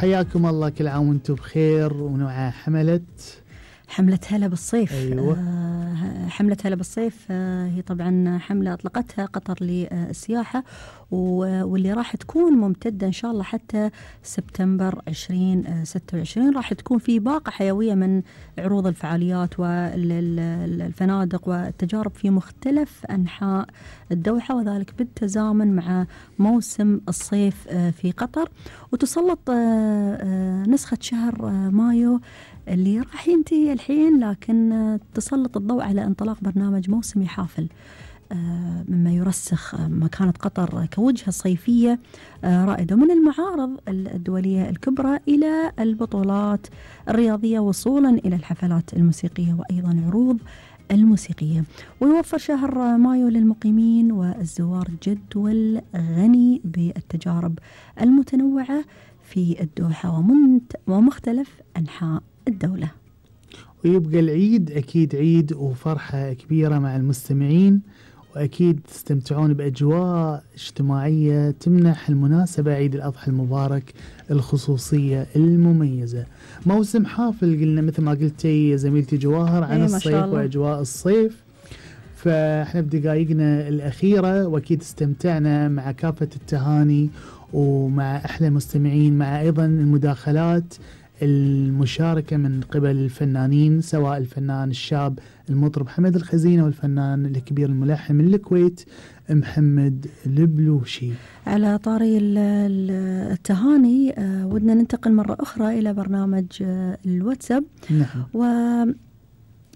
وحياكم الله، كل عام وانتم بخير ومع حملة هلا بالصيف. أيوة. حملة هلا بالصيف هي طبعا حملة أطلقتها قطر للسياحة، واللي راح تكون ممتدة إن شاء الله حتى سبتمبر 2026. راح تكون في باقة حيوية من عروض الفعاليات والفنادق والتجارب في مختلف أنحاء الدوحة، وذلك بالتزامن مع موسم الصيف في قطر. وتسلط نسخة شهر مايو اللي راح ينتهي الحين، لكن تسلط الضوء على انطلاق برنامج موسمي حافل، مما يرسخ مكانة قطر كوجهة صيفية رائدة، من المعارض الدولية الكبرى إلى البطولات الرياضية وصولا إلى الحفلات الموسيقية وأيضا عروض الموسيقية. ويوفر شهر مايو للمقيمين والزوار جدول غني بالتجارب المتنوعة في الدوحة ومختلف أنحاء الدولة. ويبقى العيد أكيد عيد وفرحة كبيرة مع المستمعين، وأكيد تستمتعون بأجواء اجتماعية تمنح المناسبة عيد الأضحى المبارك الخصوصية المميزة. موسم حافل قلنا مثل ما قلتي يا زميلتي جواهر عن الصيف وأجواء الصيف، فاحنا بدقائقنا الأخيرة وأكيد استمتعنا مع كافة التهاني ومع أحلى مستمعين، مع أيضا المداخلات المشاركة من قبل الفنانين، سواء الفنان الشاب المطرب حمد الخزينة والفنان الكبير الملحن من الكويت محمد البلوشي. على طاري التهاني ودنا ننتقل مرة أخرى إلى برنامج الواتساب. نعم.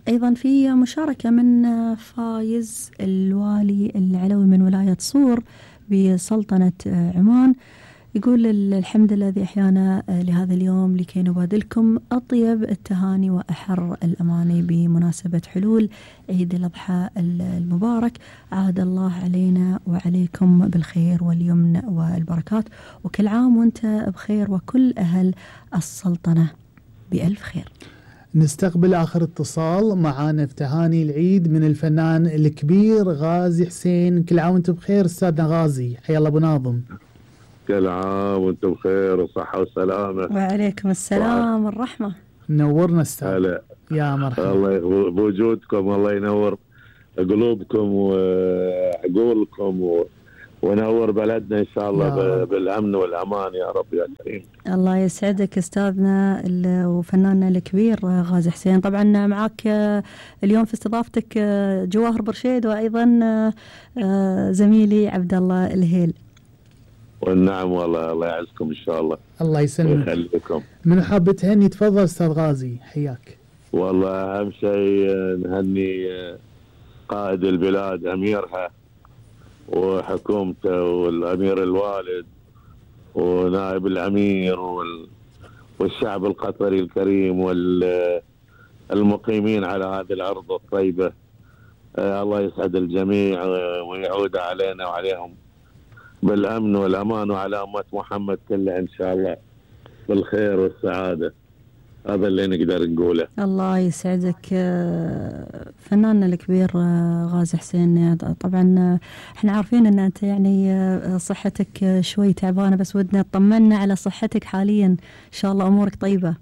وأيضا في مشاركة من فايز الوالي العلوي من ولاية صور بسلطنة عمان، يقول الحمد لله الذي أحيانا لهذا اليوم لكي نبادلكم أطيب التهاني وأحر الأماني بمناسبة حلول عيد الأضحى المبارك. عاد الله علينا وعليكم بالخير واليمن والبركات، وكل عام وانت بخير وكل أهل السلطنة بألف خير. نستقبل آخر اتصال معانا في تهاني العيد من الفنان الكبير غازي حسين. كل عام وانت بخير أستاذنا غازي، حيا الله أبو ناظم. كل عام وانتم بخير وصحة وسلامة. وعليكم السلام والرحمة. نورنا استاذ. يا مرحبا. الله بوجودكم، الله ينور قلوبكم وعقولكم ونور بلدنا إن شاء الله بالأمن والأمان يا رب يا كريم. الله يسعدك أستاذنا وفناننا الكبير غازي حسين. طبعا معك اليوم في استضافتك جواهر برشيد وأيضا زميلي عبد الله الهيل. والنعم والله، الله يعزكم إن شاء الله. الله يسلمك ويخليكم. من حاب تهني؟ تفضل أستاذ غازي، حياك. والله أهم شيء نهني قائد البلاد أميرها وحكومته والأمير الوالد ونائب الأمير والشعب القطري الكريم والمقيمين على هذه الأرض الطيبة. الله يسعد الجميع ويعود علينا وعليهم بالأمن والأمان، وعلى أمة محمد كلها إن شاء الله بالخير والسعادة. هذا اللي نقدر نقوله. الله يسعدك فناننا الكبير غازي حسين. طبعا احنا عارفين ان انت يعني صحتك شوي تعبانة، بس ودنا تطمنا على صحتك حاليا، ان شاء الله امورك طيبة.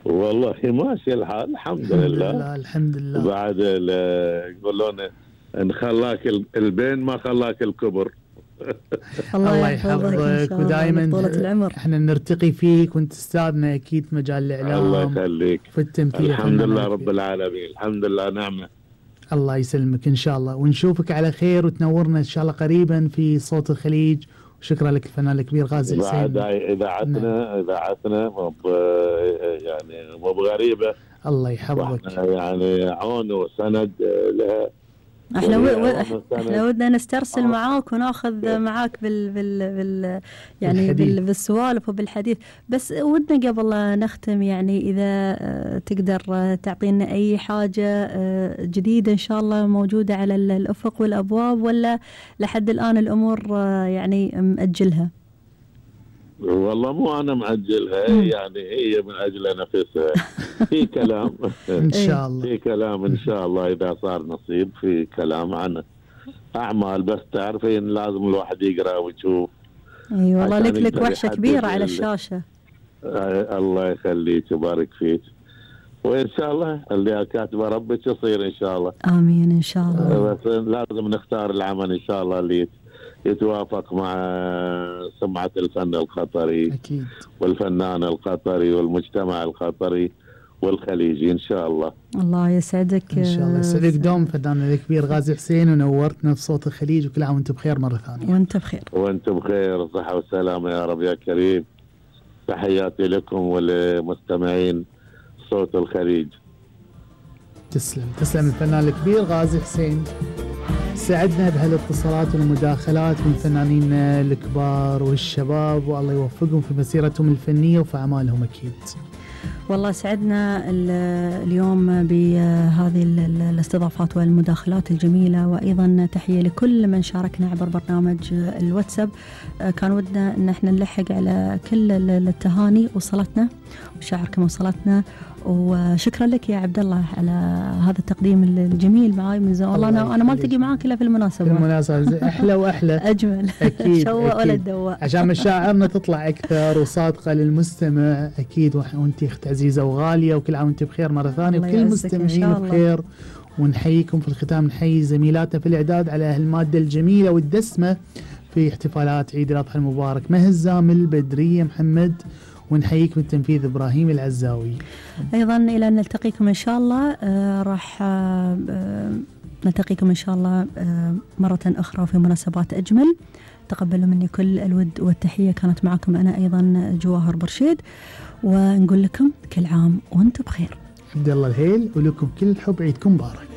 والله ماشي الحال الحمد لله. الحمد لله. بعد يقولون ان خلاك البين ما خلاك الكبر. الله يحفظك ودائما احنا نرتقي فيك وانت استاذنا اكيد في مجال الاعلام. الله يخليك. في التمثيل. الحمد لله رب العالمين، الحمد لله نعمه. الله يسلمك ان شاء الله، ونشوفك على خير وتنورنا ان شاء الله قريبا في صوت الخليج. وشكرا لك الفنان الكبير غازي حسين. بعد اذاعتنا يعني مو بغريبه. الله يحفظك. يعني عون وسند لها. احنا ودنا نسترسل معاك وناخذ معاك بالسوالف وبالحديث، بس ودنا قبل نختم يعني اذا تقدر تعطينا اي حاجة جديدة ان شاء الله موجودة على الافق والابواب، ولا لحد الان الامور يعني مأجلها؟ والله مو أنا مأجلها، يعني هي من أجل نفسها. في كلام إن شاء الله، في كلام إن شاء الله إذا صار نصيب، في كلام عن أعمال، بس تعرفين لازم الواحد يقرأ ويشوف. أي والله لك وحشة كبيرة على الشاشة. الله يخليك ويبارك فيك، وإن شاء الله اللي كاتبه ربك يصير إن شاء الله. آمين إن شاء الله. بس لازم نختار العمل إن شاء الله اللي يتوافق مع سمعة الفن القطري أكيد، والفنان القطري والمجتمع القطري والخليجي إن شاء الله. الله يسعدك إن شاء الله. يسعدك دوم فناننا الكبير غازي حسين، ونورتنا بصوت الخليج، وكل عام وأنت بخير مرة ثانية. وأنت بخير. وأنت بخير، صحة وسلامة يا رب يا كريم. تحياتي لكم ولمستمعين صوت الخليج. تسلم الفنان الكبير غازي حسين. سعدنا بهالاتصالات والمداخلات من الفنانين الكبار والشباب، والله يوفقهم في مسيرتهم الفنية وفي أعمالهم أكيد. والله سعدنا اليوم بهذه الاستضافات والمداخلات الجميلة، وأيضا تحية لكل من شاركنا عبر برنامج الواتساب. كان ودنا أن احنا نلحق على كل التهاني وصلتنا وشعركم وصلتنا، وشكرا لك يا عبد الله على هذا التقديم الجميل معاي من زمان. والله أنا ما التقي معاك إلا في المناسبة أحلى وأحلى أجمل. أكيد شوق ولا الدواء، عشان مشاعرنا تطلع أكثر وصادقة للمستمع أكيد. وأنت أخت عزيزة وغالية، وكل عام وأنت بخير مرة ثانية، وكل المستمعين بخير. ونحييكم في الختام، نحيي زميلاتنا في الإعداد على هالمادة الجميلة والدسمة في احتفالات عيد الأضحى المبارك، مها الزامل، بدرية محمد، ونحييك بالتنفيذ إبراهيم العزاوي. أيضا إلى أن نلتقيكم إن شاء الله. راح نلتقيكم إن شاء الله مرة أخرى في مناسبات أجمل. تقبلوا مني كل الود والتحية. كانت معكم أنا أيضا جواهر برشيد، ونقول لكم كل عام وأنتم بخير. عبد الله الهيل، ولكم كل الحب، عيدكم مبارك.